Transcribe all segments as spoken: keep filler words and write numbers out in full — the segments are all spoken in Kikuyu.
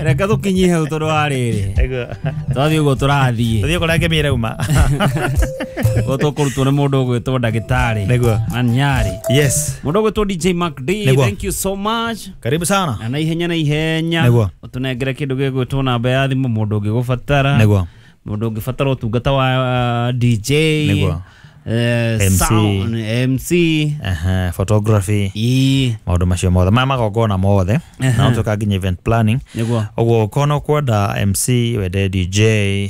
Reke tũkinyie hau tondũ wa rĩrĩ, Nĩguo. twathiĩ ũguo tũrathiĩ. Tũthiĩ kũrĩa ngemi ĩrauma. Ũguo tũkũrutwo nĩ mũndũ ũgwĩtwo ndagĩtarĩ Nĩguo. Manyari, Yes. mũndũ ũgwĩtwo D J Mark D. Nĩguo. Thank you so much. Karibu sana. Na na ihenya na ihenya, Nĩguo. ũtũnengere kĩndũ gĩgwĩtwo namba ya thimũ, mũndũ ũngĩgũbatara, Nĩguo. mũndũ ũngĩbatara ũtungata wa uh, D J, Nĩguo. eh, M C. sound, M C. Aha, photography. Ii. Maũndũ macio mothe maya, magongona mothe, na ũtuĩka nginya event planning. Nĩguo. Ũguo ũkorwo ũkwenda M C, wende D J,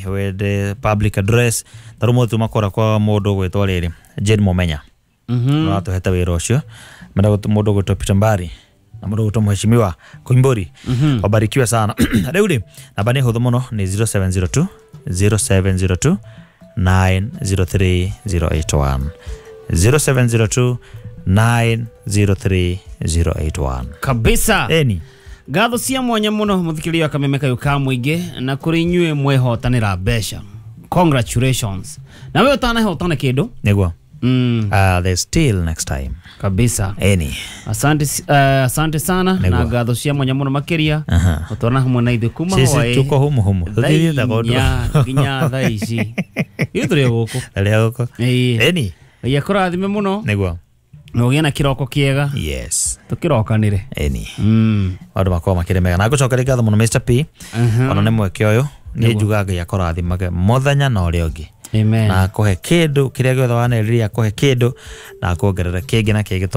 wende public address, ta rĩu mũthĩ tuma kũrĩa kwa mũndũ ũgwĩtwo rĩrĩ Jane Mũmenya. Mhm. Ũratũhete wĩra ũcio menda mũndũ ũgwĩtwo Peter Mbari na mũndũ ũgwĩtwo Mheshimiwa Koimburi, wabarikiwe sana. Rĩu rĩ, namba nĩ hũthũ mũno, nĩ zero seven zero two zero seven zero two nine zero three zero eight one, zero seven zero two nine zero three zero eight one. Kabisa. Eni. Ngatho cia mwanya mũno, mũthikĩrĩria wa Kameme kayũ ka mũingĩ, na kũrĩ inyuĩ mwehotanĩra mbeca, congratulations. Na we ũtanahotana kĩndũ, Nĩguo. mm, uh, there's still next time. Kabisa. Eni. Asante, uh, asante sana Nĩguo. na ngatho cia mwanya mũno makĩria Aha. gũtwarana hamwe na ithuĩ kuma Sisi hwaĩ tuko humu humu. thaa Tũthiĩte kũndũ. inya nginya thaa ici, ithuĩ tũrĩ o gũkũ. Rĩrĩa gũkũ. Ĩĩ. Eni. Ngai akũrathime mũno Nĩguo. na ũgĩe na kĩroko kĩega. Yes. Tũkĩrokanĩre. Eni. mm. Maũndũ makorwo makĩrĩ mega na ngũcokeria ngatho mũno Mister P, Mhm. ona nĩ mweke ũyũ. Niĩ njugaga Ngai akũrathimage mũthenya na ũrĩa ũngĩ, Amen. na akũhe kĩndũ kĩrĩa gĩothe wanerirĩria, akũhe kĩndũ na akuongerere kĩngĩ na kĩngĩ.